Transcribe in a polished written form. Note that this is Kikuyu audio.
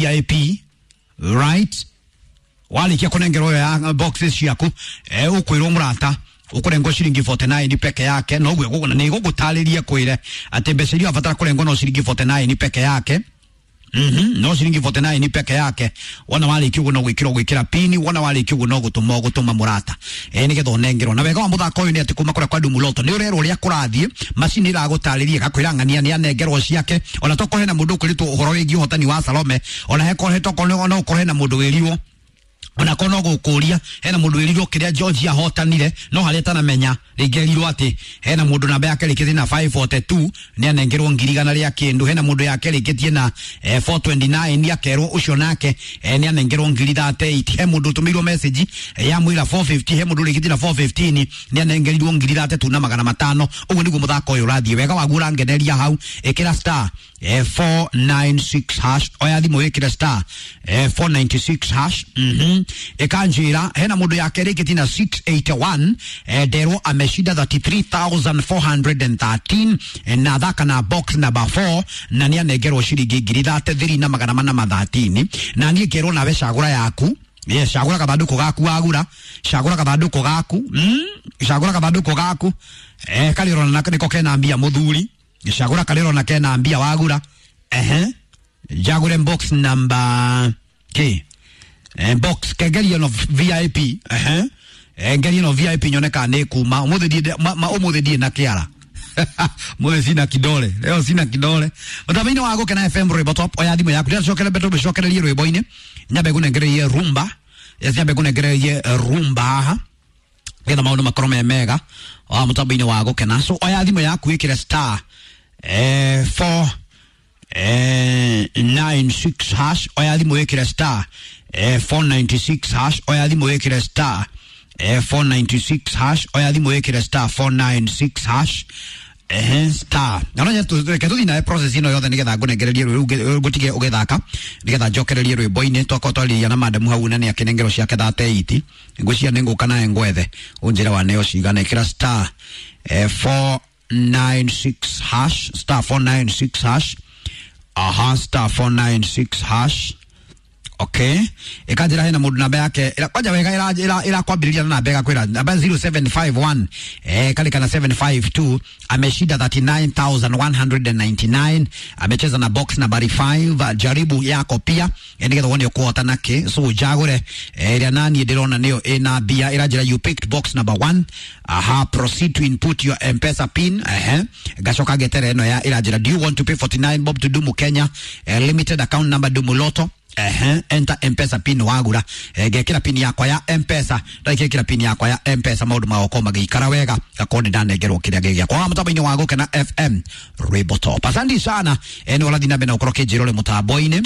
VIP, right? Walikia kunengerwo ya boxes ciaku, ukwirwo murata ukurengwo ciringi 49 peke yake, no guo ni gugutariria kwire ati mbeca iria abatara kurengwo no ciringi 49 peke yake. No ciringi 49 peke yake. Wona warikia uguo no gwikira gwikira pini, wona warikia uguo no gutuma gutuma murata, nigetha unengerwo. Na wega wa muthako uyu ni ati kuma kuria kwa Dumuloto ni urerwo uria kurathie, macini iragutariria igakwira ng'ania ni anengerwo ciake. Ona tokorwo hena mundu ukuritwo uhoro wigie uhotani wa Salome, ona hekorwo tokorwo no ukorwo hena mundu wirirwo, ona korwo no gukuria hena mundu wirirwo kiria George ahotanire, no haria tanamenya ringi erirwo ati hena mundu namba yake rikitie na 542 ni anengerwo ngiri igana ria kindu, hena mundu yake rikitie na 429 ni akerwo ucio nake ni anengerwo ngiri 38, he mundu utumirwo message ya mwira 450, he mundu rikitie na 415 ni anengerirwo ngiri 3,500. Uguo niguo muthako uyu urathie wega waguo urangeneria hau. Ikira star 496 hash, oya thimu wikire star 496 hash. Ikanjira hena mundu yake rikitie na 681, nderwo ameshinda 33,413, na thaka na box number 4 na ni anengerwo ciringi ngiri 33,413. Na niĩ ngerwo nawe cagũra yaku. Yes, cagũra gathandũkũ gaku wagura, cagũra gathandũkũ gaku, cagũra gathandũkũ gaku, karĩa ũrona nĩko kena mbia mũthuri, cagũra karĩa ũrona kena mbia wagura. Njagũre box number k, box kengeria no VIP, ngeria no VIP nyone kana nĩ kuma umuthi ndiĩ umuthi ndiĩ na kĩara. Mwe sina kidole leo, sina kidole mutambo-inĩ wa Gũkena FM Rwĩmbo Top. Oya thimũ yaku ndĩracokera mbere tũcokererie rwĩmbo-inĩ, nyambe ngũnengererie rumba. Yes, nyambe ngũnengererie rumba haha nĩgetha maũndũ makorwo me mega wa mutambo-inĩ wa Gũkena. So oya thimũ yaku ĩkĩre star 4 96 hash, oya thimũ ĩkĩre star 496 hash, oya thimũ ĩkĩre star 496 hash, oya thimũ ĩkĩre star 496 hash. Star na no reke tuthi nawe process ino yothe nigetha ngũnengererie rwĩ ngũtige ũgĩthaka nigetha njokererie rwĩmbo-inĩ. Twakorwo twarĩria na madam hau na nĩ akĩnengerwo ciake 38, ngwĩciria nĩ ngũka nawe ngwethe ũnjĩre waneo cigana. Ĩkĩra star 496 hash, star 496 hash, aha, star 496 hash. Okay, ikanjira hena mundu namba yake kwanja wega irakwambiriria na namba igakwira namba 0751 kali kana 752 ameshinda 39199, amecheza na box nambari 5. Jaribu yako pia nigetha wone ukuhota naki. So njagure ria nani ndirona niyo ina mbia iranjira you picked box number 1, aha, proceed to input your M-Pesa pin. Ngacoka ngetere ino ya iranjira do you want to pay 49 bob to Dumu Kenya limited account number Dumu Lotto. Enter M-Pesa pin wagura, ngekira pin yakwa ya M-Pesa, ndagekira pin yakwa ya M-Pesa maundu magakorwo magĩikara wega gakorwo nĩ ndanengerwo kĩrĩa gĩ gĩakwa mũtambo-inĩ wa Gũkena FM Rwĩmbo Top. Asante sana, nĩ ũrathiĩ na mbere na gũkorwo kĩnjĩra ũrĩ mũtambo-inĩ.